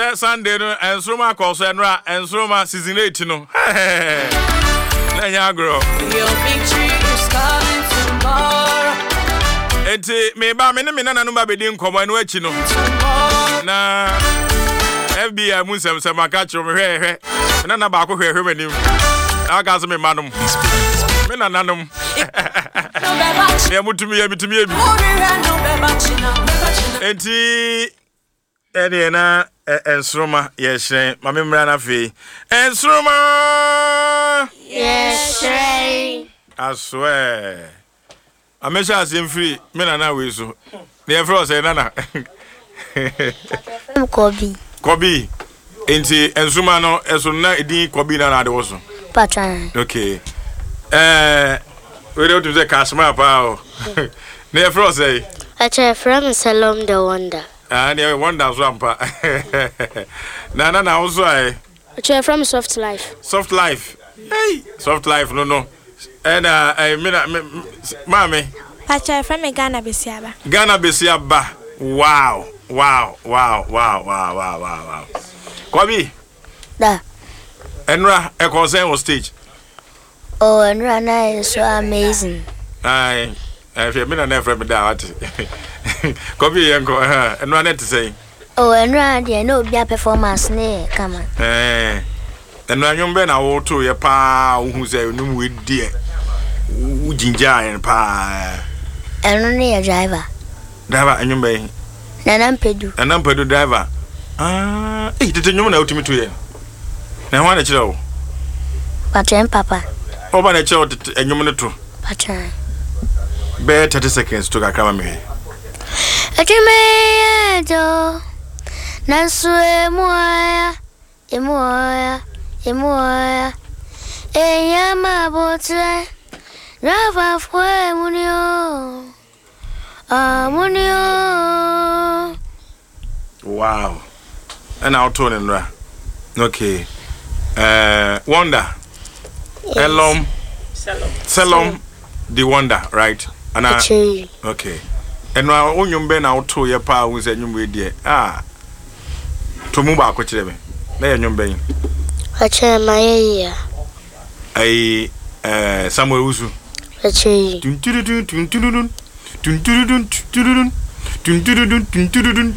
Sɛ Sunday no nsoroma akɔ so ɛnora nsoroma season 8 no. Na ɛnyɛ agorɔ. Your victory is coming tomorrow. Enti meba me ne me nananom ba bɛdi nkɔmmɔ ɛno akyi no. Tomorrow. Na FBI mu nsɛmsɛm aka kyerɛ me hwɛ hwɛ. Me nana baako hwɛ hwɛ m'anim. Na aka sɛ me mma nom. Me nananom. No beba Nea mutumi yɛ metumi yɛ bi. china. No beba china. Beba china. Enti ɛdeɛ na nsoroma yɛhyerɛn ma me mmra no afei. Nsoroma! Yɛhyerɛn. Asoɛ. Ma mehyɛ aseɛ mfiri me nana wei so. Ne yɛfrɛ wo sɛ nana. Yɛfrɛ me Kɔbi. Kɔbi. Enti nsoroma no ɛso na edin Kɔbi na na ade wɔ so. Patran. Okay. Ɛɛ wei deɛ wotumi sɛ Kashmir paa o. Ne yɛfrɛ wo sɛ? Ɛkyɛ yɛfrɛ me Selom the Wonder. Ah, ne wonder so ampa. Na na na wo so ayɛ. Ɛkyɛ yɛfrɛ me Soft Life. Soft Life. Hey, Soft Life no no. Ɛna ɛɛ me na me maame. Pakyɛ yɛfrɛ me Ghana Besiaba. Ghana Besiaba. Wow. Wow. Wow. Wow. Wow. Wow. Wow. Wow. Kwabi. Da. Ɛnora ɛkɔ sɛn wɔ stage. Oh, ɛnora na ɛyɛ so amazing. Ayi, ɛhwɛ me na na ɛfrɛ me da wate. Kwabi yɛn kɔ ɛnora na ɛte sɛn. Oh, ɛnora deɛ na obi a performance ne yɛ kama. Ɛɛ ɛnora nnwom bɛn na woto yɛ paa wohu sɛ nnwom wei deɛ wo gyingyaa yɛn paa. Ɛno ne yɛ driver. Driver nnwom bɛn? Nana Mpedu. Nana Mpedu driver. Ah, eh tete nnwom na wotumi to yɛ. Na ɛho na kyerɛ wo. Patwɛn papa. Ɔba na kyerɛ wo tete nnwom no to. Patwɛn. Bɛyɛ 30 seconds to kakra ma me hwɛ. Adwuma yi yɛ dɔ, nanso emu ɔya, emu ɔya, emu ɔya. Ehia ma abotire, driverfoɔ emu ni o, ɔmo ni o. Wow. Ɛna woto ne nnora. Okay. Wonder. Elom. Selom the Wonder, right? Ana Akyire. Okay. Ɛno a wo nnwom bɛn na woto yɛ paa wo sɛ nnwom wei deɛ ah to mu baako kyerɛ me. Na yɛ nnwom bɛn? Akyire ma yɛ yia. Ayi Samuel Wusu. Akyire. Tunturudun tunturudun tunturudun tunturudun tunturudun tunturudun.